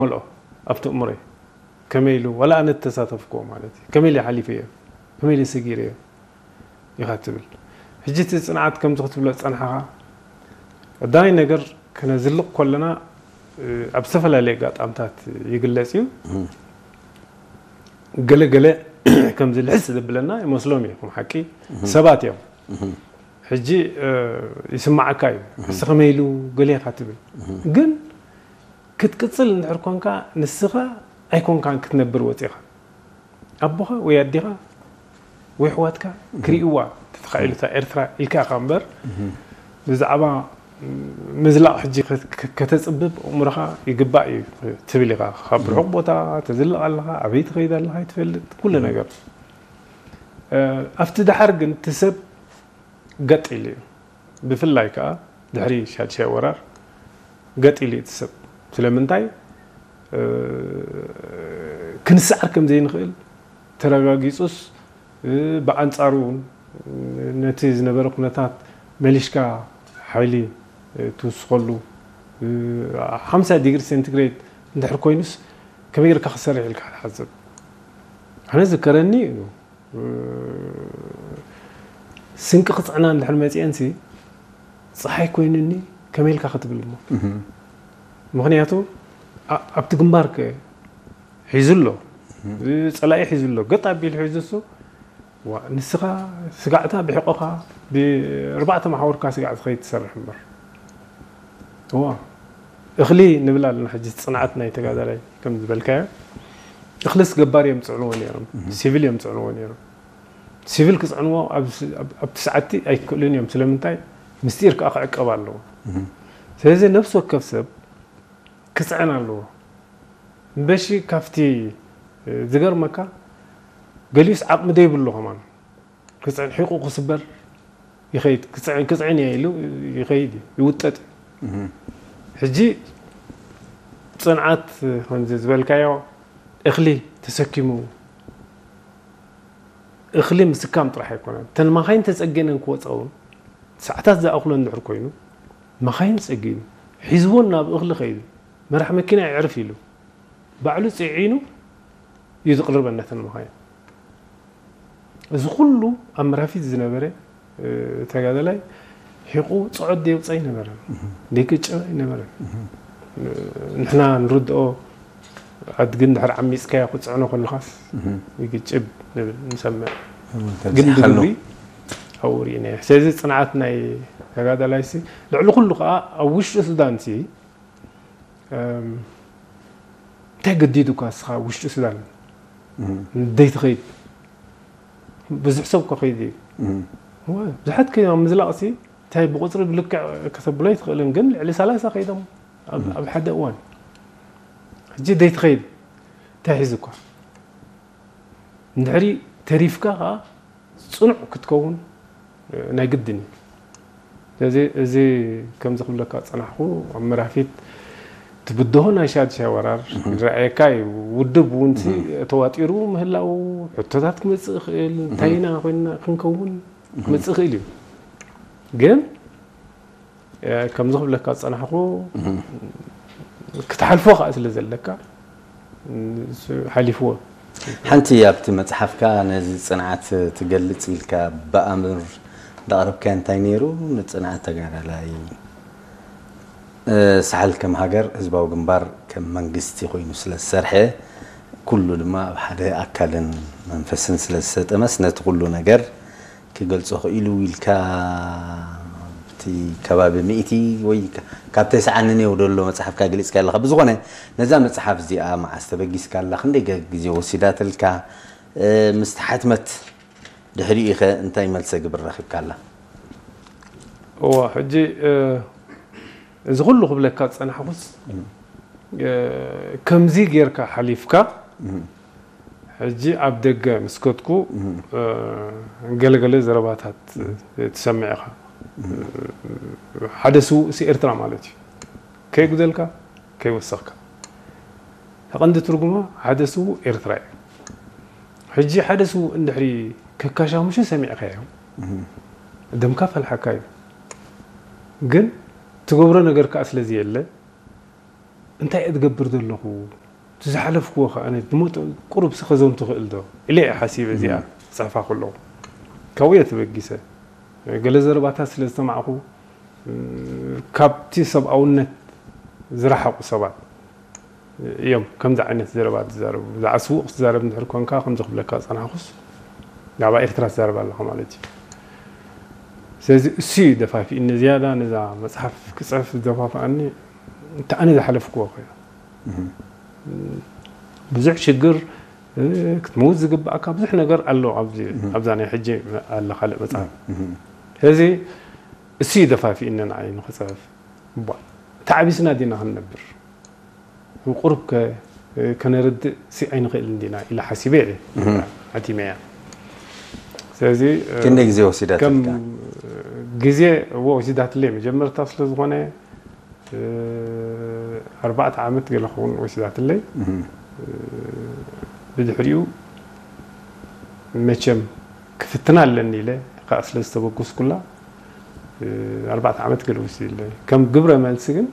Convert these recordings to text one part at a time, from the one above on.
ይመልኦ ኣብቲ እምሮይ። ከመይ ኢሉ፣ ዋላ ኣነ እተሳተፍኩዎ ማለት እዩ። ከመይ ኢለ ሓሊፈዮ፣ ከመይ ኢለ ሰጊረዮ ኢኻ ትብል። ሕጂ እቲ ጽንዓት ከምዚ ክትብሎ ዝጸንሓኻ፣ ቀዳማይ ነገር ክነዝልቕ ከለና፣ እ፣ ኣብ ዝተፈላለየ ኣጋጣምታት ይግለጽ እዩ። ገለ ገለ ከምዚ ልሕስ ዘብለና ይመስሎም እዩ፣ ከም ሓቂ ሰባት እዮም። ሕጂ፣ እ፣ ይስማዓካ እዩ። ሕጂ ከመይ ኢሉ ገለ ኢኻ ትብል። ግን ክትቅጽል እንድሕር ኮንካ፣ ንስኻ ኣይኮንካን ክትነብር ወጺኻ። ኣቦኻ ወይ ኣዴኻ ወይ ኣሕዋትካ ክርእይዋ ተተኻኢሉ እታ ኤርትራ ኢልካ ኢኻ እምበር፣ ብዛዕባ ምዝላቕ ሕጂ ከ-፣ ከ-፣ ከተጽብብ ኣእምሮኻ ይግባእ እዩ ትብል ኢኻ። ካብ ርሑቕ ቦታ ተዝልቕ ኣለኻ፣ ኣበይ ትኸይድ ኣለኻ ኣይትፈልጥ፣ ኩሉ ነገር። እ፣ ኣብቲ ደሓር ግን እቲ ሰብ ገጥ ኢሉ እዩ። ብፍላይ ከኣ ድሕሪ ሻድሻይ ወራር ገጥ ኢሉ እዩ እቲ ሰብ። ስለምንታይ? እ፣ ክንስዓር ከም ዘይንኽእል ተረጋጊጹስ፣ እ፣ ብኣንጻሩ እውን ነቲ ዝነበረ ኩነታት መሊሽካ ሓይሊ፣ እ፣ ትውስኸሉ፣ እ፣ ሓምሳ ዲግሪ ሴንቲግሬድ እንድሕር ኮይኑስ ከመይ ጌርካ ክትሰርሕ ኢልካ ክትሓስብ? ኣነ ዝከረኒ እዩ። ስንቂ ክጽዕና እንድሕር መጺአንሲ፣ ጸሓይ ኮይኑኒ ከመይ ኢልካ ክትብል እሞ? ምኽንያቱ ኣ-፣ ኣብቲ ግንባር ከ ሒዙ ኣሎ። ጸላኢ ሒዙ ኣሎ። ገጥ ኣቢሉ ሒዙ እሱ፣ ዋ፣ ንስኻ ስጋዕታ ብሕቆኻ ብኣርባዕተ መሓውርካ ስጋዕ ዝኸይድ ትሰርሕ እምበር። እዋ፣ እኽሊ ንብል ኣለና ሕጂ፣ ጽንዓት ናይ ተጋዳላይ ከም ዝበልካዮ፣ እኽልስ ገባር እዮም ዝጽዕንዎ ነይሮም፣ ሲቪል እዮም ዝጽዕንዎ ነይሮም። ሲቪል ክጽዕንዎ ኣብ ስ-፣ ኣብ፣ ኣብቲ ሰዓቲ ኣይክእሉን እዮም። ስለምንታይ? ምስጢር ከኣ ክዕቀብ ኣለዎ። ስለዚ ነፍሲ ወከፍ ሰብ ክጽዕን ኣለዎ። እምበሺ ካብቲ፣ እ፣ ዝገርመካ፣ ገሊኡስ ዓቕሚ ዘይብሉ ከማን ክጽዕን፣ ሒቑ ክስበር ይኸይድ፣ ክጽዕን፣ ክጽዕን እየ ኢሉ ይኸይድ እዩ፣ ይውጠጥ እዩ። ሕጂ ጽንዓት ከምዚ ዝበልካዮ እኽሊ ተሰኪሙ፣ እኽሊ ምስካም ጥራሕ ኣይኮነን። እተን መኻይን ተጸጊነን ክወጻ እውን ሰዓታት ዝኣኽሎ እንድሕር ኮይኑ፣ መኻይን ጸጊኑ፣ ሒዝወን ናብ እኽሊ ከይዱ፣ መራሕ መኪና የዕርፍ ኢሉ፣ ባዕሉ ጽዒኑ እዩ ዝቕርበን ነተን መኻይን። እዚ ኩሉ ኣብ መራፊት ዝነበረ፣ እ፣ ተጋዳላይ ሒቑ ጽዖት ደየውጽእ ኣይነበረን፣ ደይቅጭብ ኣይነበረን። ንሕና ንርድኦ፣ ኣድጊ እንድሕር ዓሚጽካዮ ክትጽዕኖ ከለኻስ ይግጭብ ንብል፣ ንሰምዕ። ግን ተብዚሕካሉ። ብግብሪ ኣብኡ ርኢናዮ። ስለዚ ጽንዓት ናይ ተጋዳላይሲ ልዕሊ ኩሉ ከኣ ኣብ ውሽጢ ሱዳንሲ፣ እም፣ እንታይ ገዲዱካ እስኻ ውሽጢ ሱዳን ደይትኸይድ? ብዙሕ ሰብ እኮ ከይዱ እዩ። እዋ፣ ብዙሓት ከይዶም ኣብ ምዝላቕሲ እንታይ ብቁጽሪ ብልክዕ ከተብሎ ኣይትኽእልን፣ ግን ልዕሊ ሰላሳ ከይዶም ኣብ፣ ኣብ ሓደ እዋን። ሕጂ ደይትኸይድ እንታይ ሒዙካ? እንድሕሪ ተሪፍካ ከኣ ጽኑዕ ክትከውን ናይ ግድን እዩ። ስለዚ እዚ ከምዚ ክብለካ ዝጸናሕኩ፣ ኣብ መራፊት እቲ ብድሆ ናይ ሻድሻይ ወራር ይረኣየካ እዩ። ውድብ እውን ሲ ተዋጢሩ ምህላው፣ ሕቶታት ክመጽእ ይኽእል፣ እንታይ ኢና ኮይንና ክንከውን ክመጽእ ይኽእል እዩ። ግን እ፣ ከምዚ ክብለካ ዝጸናሕኩ፣ ክትሓልፎ ከኣ ስለ ዘለካ፣ እሱ ሓሊፍዎ። ሓንቲ ኣብቲ መጽሓፍካ ነዚ ጽንዓት ትገልጽ ኢልካ ብኣምር እንዳቕረብካዮ እንታይ ነይሩ? ንጽንዓት ተጋዳላይ፣ እ፣ ሳሕል ከም ሃገር፣ ህዝባዊ ግንባር ከም መንግስቲ ኮይኑ ስለ ዝሰርሐ፣ ኩሉ ድማ ኣብ ሓደ ኣካልን መንፈስን ስለ ዝሰጠመስ፣ ነቲ ኩሉ ነገር ክገልጾ ክኢሉ ኢልካ፣ ኣብቲ ከባቢ ሚእቲ ወይ ካ-፣ ካብ ተስዓን ነንየው ደሎ መጽሓፍካ ገሊጽካ ኣለኻ። ብዝኾነ፣ ነዛ መጽሓፍ እዚኣ መዓስ ተበጊስካ ኣላ? ክንደይ ገ-፣ ግዜ ወሲዳትልካ? እ፣ ምስ ተሓትመት ድሕሪኡ ኸ እንታይ መልሰ ግብሪ ረኺብካ ኣላ? እዋ፣ ሕጂ፣ እ፣ እዚ ኩሉ ክብለካ ዝጸናሕኩስ፣ እ፣ ከምዚ ጌርካ ሓሊፍካ፣ ሕጂ ኣብ ደገ ምስ ከድኩ፣ እ፣ ገለገለ ዘረባታት ትሰምዕ ኢኻ። ሓደ ስዉእሲ ኤርትራ ማለት እዩ። ከይጉደልካ፣ ከይወሰኽካ። እታ ቀንዲ ትርጉማ ሓደ ስዉእ ኤርትራ እዩ። ሕጂ ሓደ ስዉእ እንድሕሪ ከካሻምሹ ሰሚዕካዮ፣ ደምካ ፈልሓካ እዩ። ግን ትገብሮ ነገር ከኣ ስለ ዘየለ፣ እንታይ እየ ዝገብር ዘለኹ? እቲ ዝሓለፍክዎ ከኣ ነቲ ድሞ ቁሩብሲ ከዘንቱ ክእል ዶ ኢለ እየ ሓሲበ እዚኣ ክጽሕፋ ከለኹ። ካብኡ እየ ተበጊሰ። ገለ ዘረባታት ስለ ዝሰማዕኹ፣ ካብቲ ሰብኣውነት ዝረሓቑ ሰባት እዮም ከምዚ ዓይነት ዘረባ ዝዛረቡ። ብዛዕባ ስዉእ ክትዛረብ እንድሕር ኮንካ ከምዚ ክብለካ ዝጸናሕኩስ፣ ብዛዕባ ኤርትራ ትዛረብ ኣለኻ ማለት እዩ። ስለዚ እሱ እዩ ደፋፊእኒ ዝያዳ ነዛ መጽሓፍ ክጽሕፍ ዝደፋፍኣኒ፣ እቲ ኣነ ዝሓለፍክዎ ከ ብዙሕ ሽግር፣ እ፣ ክትመውት ዝግባእካ ብዙሕ ነገር ኣሎ ኣብዚ፣ ኣብዛ ናይ ሕጂ ኣላ ካልእ መጽሓፍ። ስለዚ እሱ እዩ ደፋፊእኒ ንዓይ ንኽጽሕፍ። እባ ተዓቢስና ዲና ክንነብር? ቁሩብ ከ፣ እ፣ ከነርድእ ሲ ኣይንኽእልን ዲና ኢለ ሓሲበ እየ ሓቲመያ። ስለዚ፣ እ፣ ክንደይ ግዜ ወሲዳትልካ? ከም ግዜ እዎ ወሲዳትለይ መጀመርታ ስለ ዝኾነ፣ እ፣ ኣርባዕተ ዓመት ገለ ክኸውን ወሲዳትለይ። እ፣ ብድሕሪኡ መቸም ክፍትና ኣለኒ ኢለ ከኣ ስለ ዝተበገስኩላ፣ እ፣ ኣርባዕተ ዓመት ገለ ወሲድለይ። ከም ግብረ መልሲ ግን፣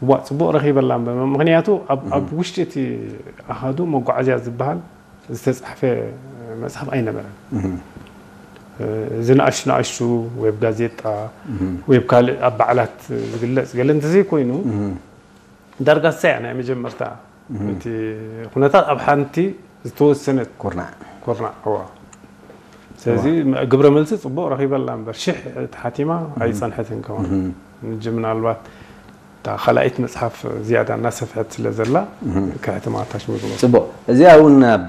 ዋ፣ ጽቡቕ ረኺበላ እምበር። ምኽንያቱ ኣብ፣ ኣብ ውሽጢ እቲ ኣሃዱ መጓዓዝያ ዝበሃል ዝተጻሕፈ መጽሓፍ ኣይነበረን። እ፣ እዚ ንኣሽቱ ንኣሽቱ ወይ ኣብ ጋዜጣ ወይ ኣብ ካልእ ኣብ በዓላት ዝግለጽ ገለ እንተዘይኮይኑ፣ ዳርጋ እሳ እያ ናይ መጀመርታ እቲ ኩነታት ኣብ ሓንቲ ዝተወሰነት ኩርናዕ። ኩርናዕ፣ እዋ። ስለዚ ግብረ መልሲ ጽቡቕ ረኺበላ እምበር፣ ሽሕ ተሓቲማ ኣይጸንሐትን ከማን። ሕጂ ምናልባት እታ ካልኣይቲ መጽሓፍ ዝያዳ እናሰፍሐት ስለ ዘላ፣ ከሕትማ ኣታች ምግቦ። ጽቡቕ። እዚኣ እውን ኣብ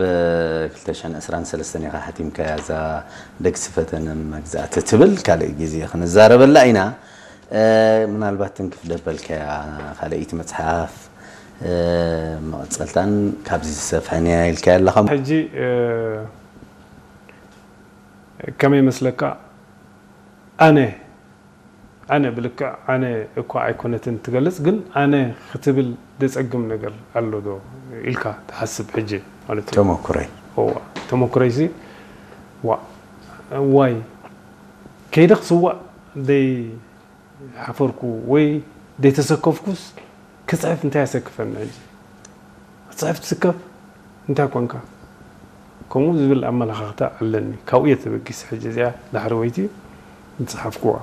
ክልተ ሽሕን ዕስራን ሰለስተን ኢኻ ሓቲምካያ፣ እዛ ደግሲ ፈተነ መግዛእቲ ትብል፣ ካልእ ግዜ ክንዛረበላ ኢና። እ፣ ምናልባት ትንክፍ ደበልካያ ካልኣይቲ መጽሓፍ፣ እ፣ መቐጸልታን ካብዚ ዝሰፍሐን እያ ኢልካያ ኣለኻ። ሕጂ፣ እ፣ ከመይ ይመስለካ? ኣነ፣ ኣነ ብልክዕ ኣነ እኳ ኣይኮነትን ትገልጽ፣ ግን ኣነ ክትብል ደጸግም ነገር ኣሎ ዶ ኢልካ ትሓስብ ሕጂ ማለት እዩ? ተመኩረይ። እዋ፣ ተመኩረይሲ፣ ዋ፣ ዋይ፣ ከይደ ክስዋእ ደይ ሓፈርኩ ወይ ደይተሰከፍኩስ ክጽሕፍ እንታይ ኣሰክፈኒ ሕጂ? ክጽሕፍ ትስከፍ እንታይ ኮንካ? ከምኡ ዝብል ኣመለኻኽታ ኣለኒ። ካብኡ እየ ተበጊሰ ሕጂ እዚኣ ዳሕረወይቲ ዝጸሓፍኩዋ።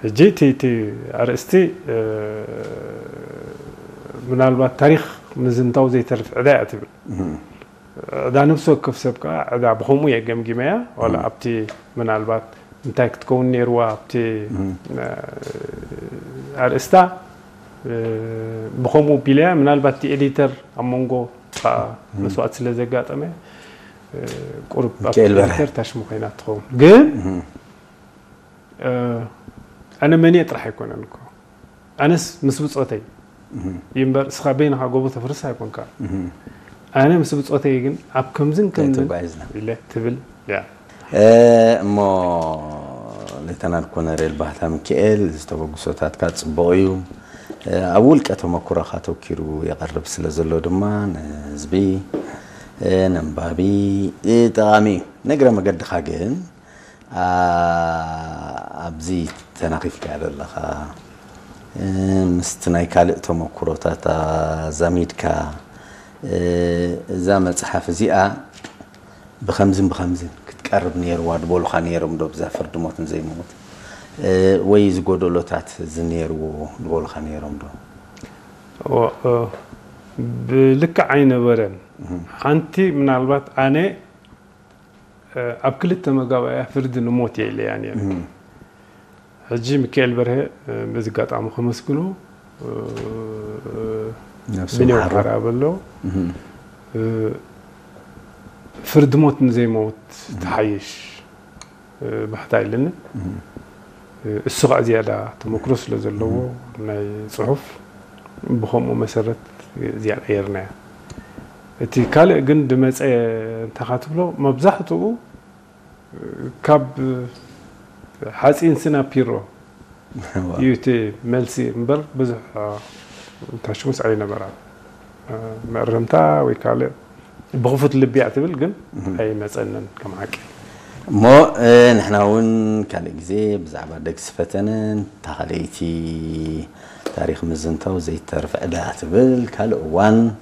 ሕጂ እቲ፣ እቲ ኣርእስቲ፣ እ፣ ምናልባት ታሪኽ ምዝንታው ዘይተርፍ ዕዳ እያ ትብል። ዕዳ ነፍሲ ወከፍ ሰብ ከኣ ዕዳ ብኸምኡ እየ ገምጊመያ። ዋላ ኣብቲ ምናልባት እንታይ ክትከውን ነይርዋ ኣብቲ፣ እ፣ ኣርእስታ፣ እ፣ ብኸምኡ ቢለያ፣ ምናልባት እቲ ኤዲተር ኣብ መንጎ ከኣ መስዋእቲ ስለ ዘጋጠመ፣ እ፣ ቁሩብ ኣብቲ ሚካኤል በርሀ። ኤዲተር ታሽሙ ኮይና ትኸውን። ግን፣ እ፣ ኣነ መን እየ ጥራሕ ኣይኮነን እኮ። ኣነስ ምስ ብጾተይ እዩ እምበር፣ እስኻ በይንኻ ጎቦ ተፍርስ ኣይኮንካ። ኣነ ምስ ብጾተይ ግን ኣብ ከምዝን ከምዝን ተጓዒዝና። ኢለ ትብል እያ። እ፣ እሞ ሌተናል ኮነሬል ባህታ ሚካኤል፣ ዝተበግሶታትካ ጽቡቕ እዩ። እ፣ ኣብ ውልቀ ተመኩሮኻ ተኪሩ የቐርብ ስለ ዘሎ ድማ ንህዝቢ፣ እ፣ ነንባቢ፣ እ፣ ጠቓሚ እዩ። ንእግረ መገድኻ ግን፣ ኣ፣ ኣብዚ ተናኺፍካያ ዘለኻ፣ እ፣ ምስቲ ናይ ካልእ ተመኩሮታት ኣዛሚድካ፣ እ፣ እዛ መጽሓፍ እዚኣ ብኸምዝን ብኸምዝን ክትቀርብ ነይርዋ ድበሉኻ ነይሮም ዶ፣ ብዛ ፍርዲ ሞት ንዘይመውት? እ፣ ወይ ዝጎደሎታት እዚ ነይርዎ ድበሉኻ ነይሮም ዶ? ኦ፣ እ፣ ብልክዕ ኣይነበረን። ሓንቲ ምናልባት ኣነ፣ እ፣ ኣብ ክልተ መጋባእያ ፍርዲ ንሞት እየ ኢለያ ነይረ። ሕጂ ሚካኤል በርሀ፣ እ፣ በዚ ኣጋጣሚ ከመስግኖ፣ እ፣ ነፍሱ ብኔው ይምሓሮ። ሓራ በሎ፣ እህ። እ፣ ፍርዲ ሞት ንዘይመውት ትሓይሽ፣ እ፣ ባሕታ ኢለኒ። እህ። እ፣ እሱ ኸዓ ዝያዳ ተመክሮ ስለ ዘለዎ ናይ ጽሑፍ ብኸምኡ መሰረት እዚኣ ቀየርናያ። እቲ ካልእ ግን ድመጸ እንተኻ ትብሎ መብዛሕትኡ ካብ ሓፂን ስናፒሮ ዋው። እዩ እቲ መልሲ እምበር ብዙሕ፣ እ፣ ታሽሙስ ኣይነበራን። እ፣ መእረምታ ወይ ካልእ ብኽፉት ልቢ እያ ትብል ግን ኣይመፀንን ከም ሓቂ። እሞ፣ እ፣ ንሕና እውን ካልእ ግዜ ብዛዕባ ደግሲ ፈተነን እታ ካልኣይቲ ታሪኽ ምዝንታው ዘይተርፍ ዕዳ ትብል ካልእ እዋን